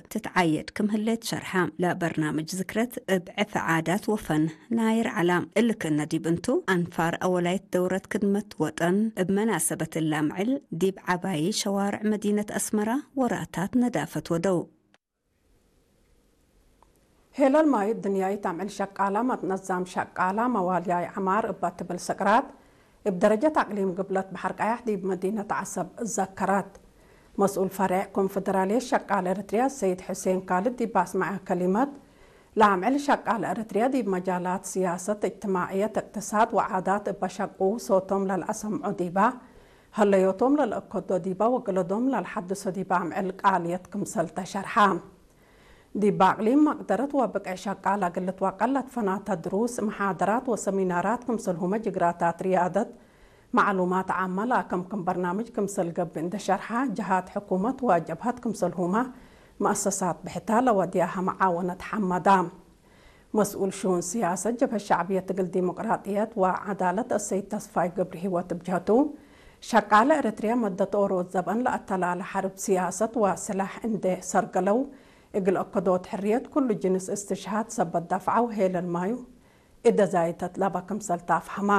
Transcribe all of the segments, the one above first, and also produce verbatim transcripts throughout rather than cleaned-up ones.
ትትዓየድ ክም ህሌት ሸርሐ። ለበርናምጅ ዝክረት እብ ዕፍ ዓዳት ወፈን ናይር ዐላ። እሊ ክእነ ዲብ እንቱ፣ አንፋር አወላይት ደውረት ክድመት ወጠን እብ መናሰበት እለ አምዕል ዲብ ዐባዪ ሸዋርዕ መዲነት አስመራ ወራታት ነዳፈት ወደው። ሄለል ማይ እድንያይት አምዕል ሸቃላ መትነዛም ሸቃላ መዋልያይ ዐማር እበ ትብል ስቅራት፣ እብ ደረጀት አቅሊም ግብለት በሐር ቀያሕ ዲብ መዲነት ዐሰብ ዘከረት። መስኡል ፈሬዕ ኮንፈደራልየት ሸቃል ኤረትርያ ሰይድ ሑሴን ካልድ ዲብ አስመዐ ከሊመት፣ ለአምዕል ሸቃል ኤረትርያ ዲብ መጃላት ስያሰት፣ እጅትማዕየት፣ እቅትሳድ ወዓዳት እበ ሸቁ ሶቶም ለልአሰምዖ ዲባ፣ ሀለዮቶም ለልአከዶ ዲባ ወገለዶም ለልሐድሶ ዲባ አምዕል ቃልየት ክምሰል ተሸርሐ። ዲብ አቅሊም መቅደረት ወብቅዕ ሸቃል እግል ልትወቀል ለትፈናተ ድሩስ፣ መሓደራት ወሰሚናራት ክምሰልሁመ ጅግራታት ርያደት መዕሉማት ዓመ ለአከምክም በርናምጅ ክምሰል ገብእ እንደ ሸርሐ፣ ጀሃት ሕኩመት ወጀብሀት ክምሰልሁመ መአሰሳት ብሕተ ለወድያሀ መዓወነት ሐመዳ። መስኡል ሽኡን ስያሰት ጀብሀት ሸዕብየት እግል ዲሞቅራጥየት ወዐዳለት አሰይድ ተስፋይ ገብረሂወት እብ ጀህቱ፣ ሸቃለ ኤረትርያ መደት ኦሮት ዘበን ለአተላለ ሐርብ ስያሰት ወስላሕ እንዴ ሰርገለው፣ እግል አከዶት ሕርየት ኩሉ ጅንስ እስትሽሃድ ሰበት ደፍዐው ሄለል ማዩ እደ ዛይተት ለበ ክምሰል ተአፍሀማ።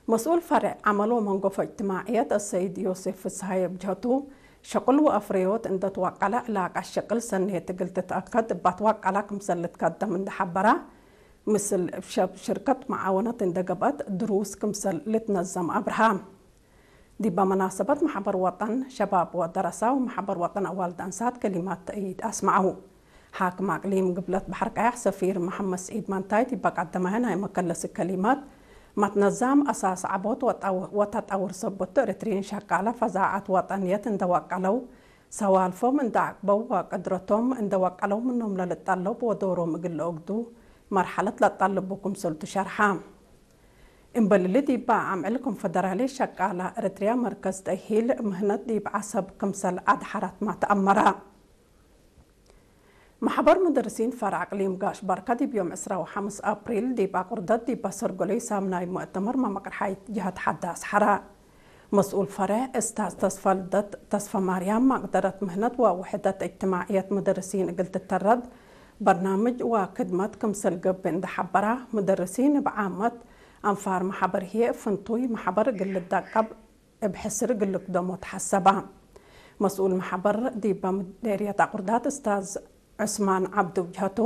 መስኡል ፈሬዕ ዐመል ወመንጎፎ እጅትማዕየት አሰይድ ዮሴፍ ፍስሃየ እብ ጀህቱ፣ ሸቁል ወአፍረዮት እንደ ትወቀለ ዕላቀት ሸቅል ሰኔት እግል ትትአከድ እብ አትወቀላ ክምሰል ልትከደም እንደ ሐበራ፣ ምስል እብ ሸብ ሽርከት መዓወነት እንደ ገብአት ድሩስ ክምሰል ልትነዘም አብርሃ። ዲበ መናሰበት መሕበር ወጠን ሸባብ ወደረሳ ወመሕበር ወጠን አዋልድ አንሳት ከሊማት ተእይድ አስመዐው። ሓክም አቅሊም ግብለት በሐር ቀያሕ ሰፊር መሐመድ ስዒድ መንታይ ዲበ ቀደመሀ ናይ መከለሲ ከሊማት፣ መትነዛም አሳስ ዐቦት ወጠው-፣ ወተጠውር ሰቦት ኤረትርዪን ሸቃለ ፈዛዐት ወጠንየት እንደ ወቀለው፣ ሰዋልፎም እንደ አቅበው ወቅድረቶም እንደ ወቀለው ምኖም ለልጠለብ ወዶሮም እግል ለኦግዱ መርሐለት ለጠልቡ ክምሰልቱ ሸርሐ። እምበል እሊ ዲበ አምዕል ኮንፈደራልየት ሸቃለ ኤረትርያ መርከዝ ተእሂል ምህነት ዲብ ዐሰብ ክምሰል አድሐረትመ ተአመረ። መሕበር ሙደርሲን ፈርዕ አቅሊም ጋሽ በርከ ዲብ ዮም ዕስራ ወሐምስ አፕሪል ዲብ አቁርደት ዲብ አሰርገሎይ ሳምናይ ሙእተመር መመቅርሓይት ጀሀት ሐዳስ ሐረ። መስኡል ፈርዕ እስታዝ ተስፋልደት ተስፋማርያም፣ መቅደረት ምህነት ወውሕደት እጅትማዕየት ሙደርሲን እግል ትተረድ በርናምጅ ወክድመት ክምሰል ገብእ እንደ ሐበራ፣ ሙደርሲን እብ ዓመት አንፋር መሕበር ህዬ እብ ፍንቱይ መሕበር እግል ልደቀብ እብ ሕስር እግል ልክደሞ ተሐሰበ። መስኡል መሕበር ዲበ ምዴርየት አቁርዳት እስታዝ ዑስማን ዐብዱ እብ ጀህቱ፣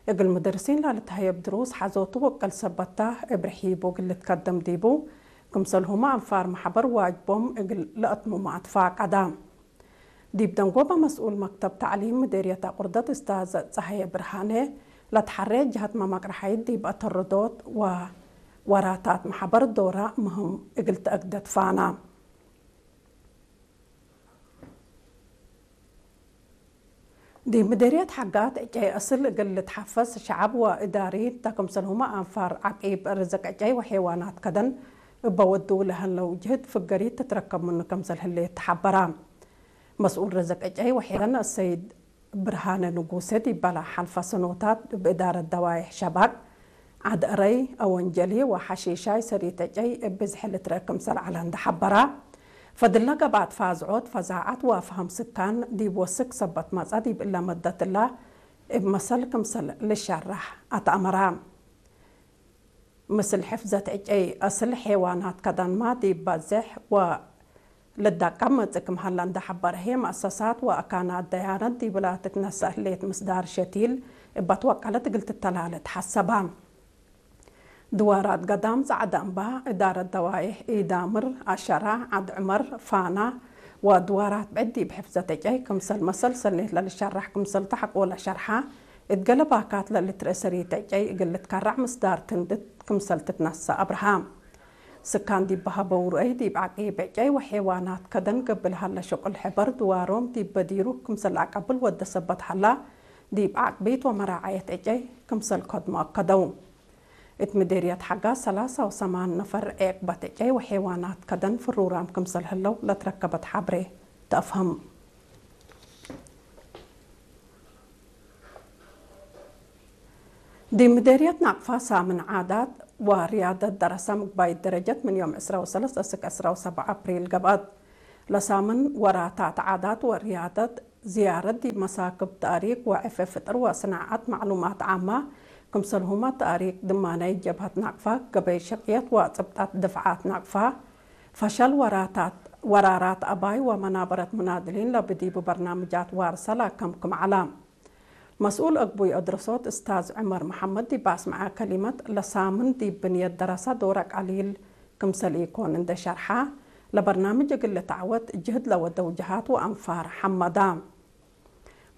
እግል ሙደርሲን ለልትሀየብ ድሩስ ሐዞቱ ወቅል ሰበት ተ፣ እብ ርሒቡ እግል ልትከደም ዲቡ፣ ክምሰልሁመ አንፋር መሕበር ዋጅቦም እግል ለአትምሙ አትፋቀደ። ዲብ ደንጎበ መስኡል መክተብ ተዕሊም ምዴርየት አቁርደት እስታዝ ጸሃየ ብርሃኔ፣ ለትሐሬ ጀሀት መመቅርሐይት ዲብ አተረዶት ወወራታት መሕበር ዶራ ምህም እግል ተአግደ ትፋና። ዲብ ምዴርየት ሐጋት ዕጨይ አስል እግል ልትሐፈዝ ሸዐብ ወእዳሪ ተ፣ ክምሰልሁመ አንፋር ዐቂብ ርዝቅ ዕጨይ ወሐይዋናት ከደን እበ ወዱ ለሀለው ጅህድ ፍገሪት ትትረከብ ምኑ ክምሰል ህሌት ተሐበራ። መስኡል ርዝቅ ዕጨይ ወሐይዋን አሰይድ ብርሃነ ንጉሴ ዲበ ለሐልፈ ሰኖታት እብ እዳረት ደዋይሕ ሸባቅ፣ ዐድ-አረይ፣ አወንጀሊ ወሐሺሻይ ሰሪት ዕጨይ እብ ብዝሒ ልትረአ ክምሰል ዐለ እንዴ ሐበራ፣ ፈድለ ገብአት ፋዝዖት፣ ፈዛዐት ወአፍሀም ስካን ዲብ ወስክ ሰበት መጽአ ዲብ እለ መደት እለ እብ መሰል ክምሰል ልሸራሕ አትአመረ። ምስል ሕፍዘት ዕጨይ አስል ሐይዋናት ከደንመ ዲብ በዜሕ ወልደቀብ መጽእ ክም ሀለ እንዴ ሐበረ ህዬ፣ መአሰሳት ወአካናት ደያነት ዲብላ ትትነሰእ ህሌት ምስዳር ሸቲል እበ ትወቀለት እግል ትተላለ ተሐሰበ። ድዋራት ገዳም ጸዕደ እምባ፣ እዳረት ደዋይሕ ኢዳምር፣ አሸራ፣ ዐድ ዑመር፣ ፋና ወድዋራት ብዕድ ዲብ ሕፍዘት ዕጨይ ክምሰል መሰል ሰኔት ለልሸራሕ ክምሰልቱ ሐቆለ ሸርሐ፣ እት ገሌ ባካት ለልትርኤ ሰሪት ዕጨይ እግል ልትከረዕ ምስዳር ትንድት ክምሰል ትትነሰእ አብርሃ። ስካን ዲብ በሀበው ርአይ፣ ዲብ ዐቂብ ዕጨይ ወሐይዋናት ከደን ገብእ ለሀለ ሸቁል ሕበር ድዋሮም ዲብ በዲሩ ክምሰል ለአቀብል ወደ ሰበት ሀላ፣ ዲብ ዐቅቢት ወመራዐየት ዕጨይ ክምሰል ከድሞ አከደው። እት ምዴርየት ሐጋ ሰላሳ ወሰማን ነፈር ዔቅበት ዕጨይ ወሐይዋናት ከደን ፍሩራም ክምሰል ህለው ለትረከበት ሐብሬ ተአፍህም። ዲብ ምዴርየት ናቅፋ ሳምን ዓዳት ወርያደት ደረሰ ምግባይት ደረጀት ምን ዮም ዕስራ ወሰለስ እስክ ዕስራ ወሰብዓ አፕሪል ገብአት። ለሳምን ወራታት ዓዳት ወርያደት ዝያረት ዲብ መሳክብ ተእሪክ ወዕፌ ፍጥር ወስናዐት መዕሉማት ዓማ፣ ክምሰልሁመ ተእሪክ ድማናይት ጀብሀት ናቅፋ፣ ገበይ ሽቅየት ወጽብጣት ድፍዓት ናቅፋ፣ ፈሸል ወራታት፣ ወራራት አባይ ወመናበረት ሙናድሊን ለብዲቡ በርናምጃት ዋርሰ ለከምክም ዐለ። መስኡል አግቡይ አድረሶት እስታዝ ዑመር መሐመድ ዲብ አስመዐ ከሊመት፣ ለሳምን ዲብ ብንየት ደረሳ ዶረ ቀሊል ክምሰል ኢኮን እንዴ ሸርሐ፣ ለበርናምጅ እግል ልትዐወት ጅህድ ለወደው ጀሃት ወአንፋር ሐመዳ።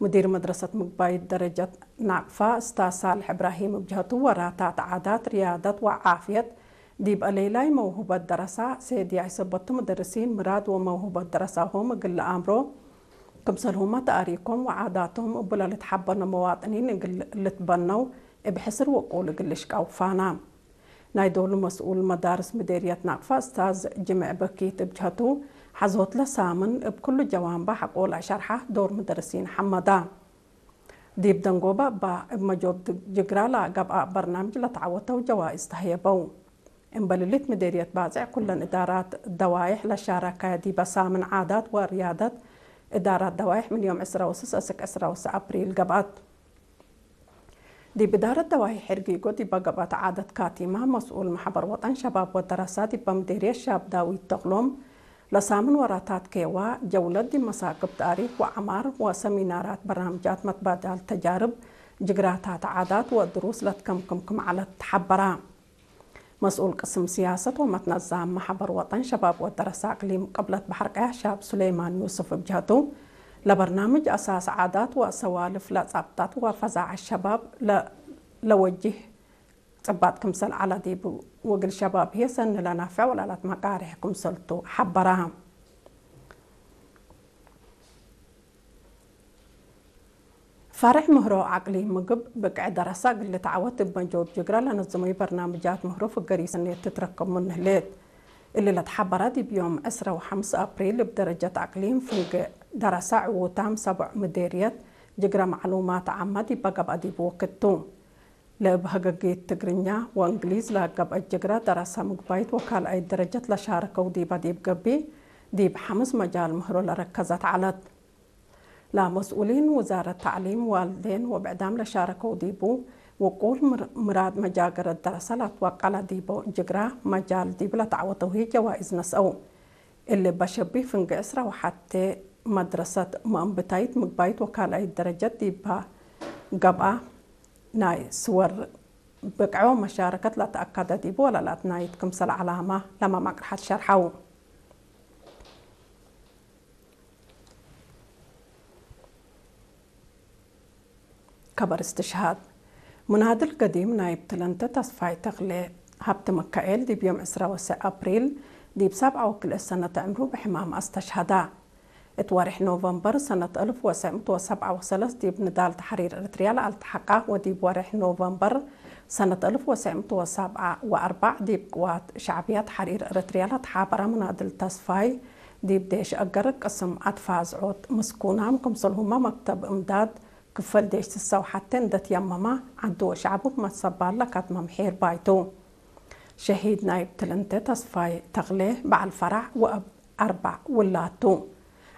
ሙዲር መድረሰት ምግባይት ደረጀት ናቅፋ እስታዝ ሳልሕ እብራሂም እብ ጀህቱ፣ ወራታት ዓዳት፣ ርያደት ወዓፍየት ዲብ አሌላይ መውሁበት ደረሳ፣ ሴድያይ ሰበቱ፣ መደርሲን ምራድ ወመውሁበት ደረሳሆም እግል ለአምሮ፣ ክምሰልሁመ ተአሪኮም ወዓዳቶም እቡ ለልትሐበኖ መዋጥኒን እግል ልትበነው እብ ሕስር ወቁል እግል ልሽቀው ፋና። ናይ ዶሉ መስኡል መዳርስ ምዴርየት ናቅፋ እስታዝ ጅምዕ በኪት እብ ጀህቱ፣ ሐዞትለ ሳምን እብ ክሉ ጀዋንባ ሐቆ ለአሸርሐ ዶር መደርሲን ሐመዳ። ዲብ ደንጎበ እባ እብ መጆብ ጅግራ ለገብአ በርናምጅ ለተዐወተው ጀዋይዝ ተህየበው። እምበል እሊት ምዴርየት ባጽዕ ኩለን እዳራት ደዋይሕ ለሻረከ ዲበ ሳምን ዓዳት ወርያደት እዳራት ደዋይሕ ምን ዮም ዕስራ ወስስ እስክ ዕስራ ወሰ አፕሪል ገብአት። ዲብ እዳረት ደዋይሕ ሕርጊጎ ዲበ ገብአት ዓደት ካቲማ መስኡል መሕበር ወጠን ሸባብ ወደረሳ ዲበ ምዴርየት ሻብ ዳዊት ተክሎም፣ ለሳምን ወራታት ኬዋ ጀውለት ዲብ መሳክብ ተእሪክ ወዐማር ወሰሚናራት በርናምጃት መትባዳል ተጃርብ ጅግራታት ዓዳት ወድሩስ ለትከምክም ክም ዐለት ተሐበራ። መስኡል ቅስም ስያሰት ወመትነዛም መሕበር ወጠን ሸባብ ወደረሳ አቅሊም ቅብለት በሐር ቀያሕ ሻብ ሱሌማን ዩስፍ እብ ጀህቱ፣ ለበርናምጅ አሳስ ዓዳት ወሰዋልፍ ለጸብጠት ወፈዛዐት ሸባብ ለ-፣ ለወጅህ ጽባጥ ክምሰል ዐለ ዲቡ ወእግል ሸባብ ህዬ ሰኒ ለናፍዕ ወለዐለት መቃርሕ ክምሰልቱ ሐበራ። ፈርዕ ምህሮ አቅሊም ምግብ ብቅዕ ደረሳ እግል ልትዐወት እብ መጆብ ጅግረ ለነዝሙይ በርናምጃት ምህሮ ፍገር ኢሰኔት ትትረከብ ምኑ ህሌት። እሊ ለትሐበረ ዲብ ዮም ዕስረ ወሐምስ አፕሪል እብ ደረጀት አቅሊም ፍንጌ ደረሳ ዕዉታም ሰቦዕ ምዴርየት ጅግረ መዕሉማት ዓመ ዲበ ገብአ ዲብ ወክድ ቱ። ለእብ ሀገጊት ትግርኛ ወእንግሊዝ ለገብአት ጅግረ ደረሳ ምግባይት ወካልአይት ደረጀት ለሻረከው ዲበ ዲብ ገብእ፣ ዲብ ሐምስ መጃል ምህሮ ለረከዘት ዐለት። ለመስኡሊን ውዛረት ተዕሊም ዋልዴን ወብዕዳም ለሻረከው ዲቡ፣ ውቁል ምር-፣ ምራድ መጃገረት ደረሰ ለትወቀለ ዲቦ ጅግራ መጃል ዲብ ለተዐወተው ህይ ጀዋይዝ ነስአው። እሊ በሸቢ ፍንጌ ዕስራ ወሐቴ መድረሰት መአንብታይት ምግባይት ወካልአይት ደረጀት ዲባ ገብአ፣ ናይ ስወር ብቅዖ መሻረከት ለተአከደ ዲቡ ወለላትናይት ክምሰል ዐላማ ለመ መቅርሐት ሸርሐው። ከበር እስትሽሃድ። ሙናድል ገዲም ናይብ ትለንተ ተስፋይ ተክሌ ሀብተ መካኤል ዲብ ዮም ዕስራ ወሰዕ አፕሪል ዲብ ሰብዓ ወክልኤ ሰነት ዕምሩ ብሕማም አስተሽሀዳ። እት ወሬሕ ኖቨምበር ሰነት አልፍ ወሰዕ ምእት ወሰብዓ ወሰለስ ዲብ ንዳል ተሕሪር ኤረትርያ ለአልተሐቀ ወዲብ ወሬሕ ኖቨምበር ሰነት አልፍ ወሰዕ ምእት ወሰብዓ ወአርበዕ ዲብ ቅዋት ሸዕብያ ተሕሪር ኤረትርያ ለተሓበረ ሙናድል ተስፋይ ዲብ ዴሽ አገር ቅስም አትፋዝዖት ምስኩናም፣ ክምሰልሁመ መክተብ እምዳድ ክፈል ዴሽ ስሰ ወሐቴ እንዴ ትየመመ፣ ዐዱ ወሸዕቡ መሰባል ለከትመ ምሒር ባይቱ። ሸሂድ ናይብ ትልንተ ተስፋይ ተክሌ በዐል ፈራዕ ወአብ አርበዕ ውላድ ቱ።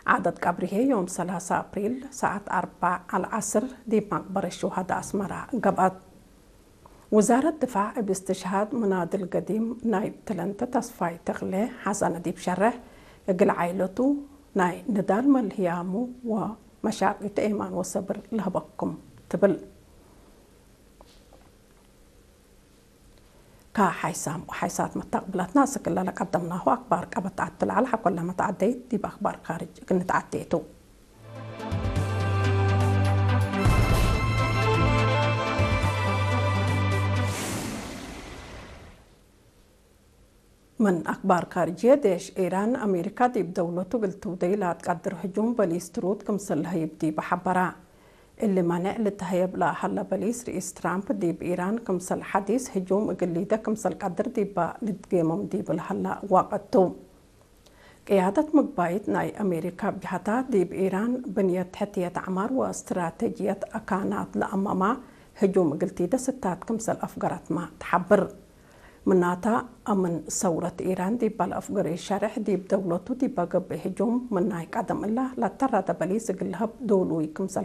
ዓደት ቀብሪሄ ዮም ሰላሳ አፕሪል ሰዓት አርበዕ አልዐስር ዲብ መቅበረት ሹሀዳ አስመራ ገብአት። ውዛረት ድፋዕ እብ እስትሽሃድ ሙናድል ገዲም ናይብ ትለንተ ተስፋይ ተክሌ ሐሰነ ዲብ ሸርሕ፣ እግል ዓይለቱ ናይ ንዳል መልህያሙ ወመሻቂቱ ኤማን ወሰብር ለህበኩም ትብል። ከሓይሳም ወሓይሳት መተቅብለትና እስክ እለ ለቀደምናሁ አክባር ቀበት ተዐቴ ለዐለ፣ ሐቆለ መተዐደይት ዲብ አክባር ካርጅ እግል ንትዐዴ ቱ። ምን አክባር ካርጅየ፣ ዴሽ ኢራን፣ አሜሪካ ዲብ ደውለቱ እግል ትውደይ ለአትቀድር ህጁም በሊስ ትሩድ ክምሰል ለህይብ ዲበ ሐበራ። እሊ መኔዕ ልትሀየብ ለሀለ በሊስ፣ ርኢስ ትራምፕ ዲብ ኢራን ክምሰል ሐዲስ ህጁም እግል ሊደ ክምሰል ቀድር ዲበ ልትጌምም ዲብ ለሀለ ወቅት ቱ። ቅያደት ምግባይት ናይ አሜሪካ እብ ጀሀታ፣ ዲብ ኢራን ብንየት ሕትየት አዕማር ወእስትራቴጅየት አካናት ለአመማ ህጁም እግል ቲደ ስታት ክምሰል አፍገረትመ ተሐብር። ምናተ፣ አምን ሰውረት ኢራን ዲብ አልአፍገሬ ሸሬሕ ዲብ ደውለቱ ዲበ ገብእ ህጁም ምናይ ቀደም እለ ለተራደ በሊስ እግል ለሀብ ዶሉይ ክምሰል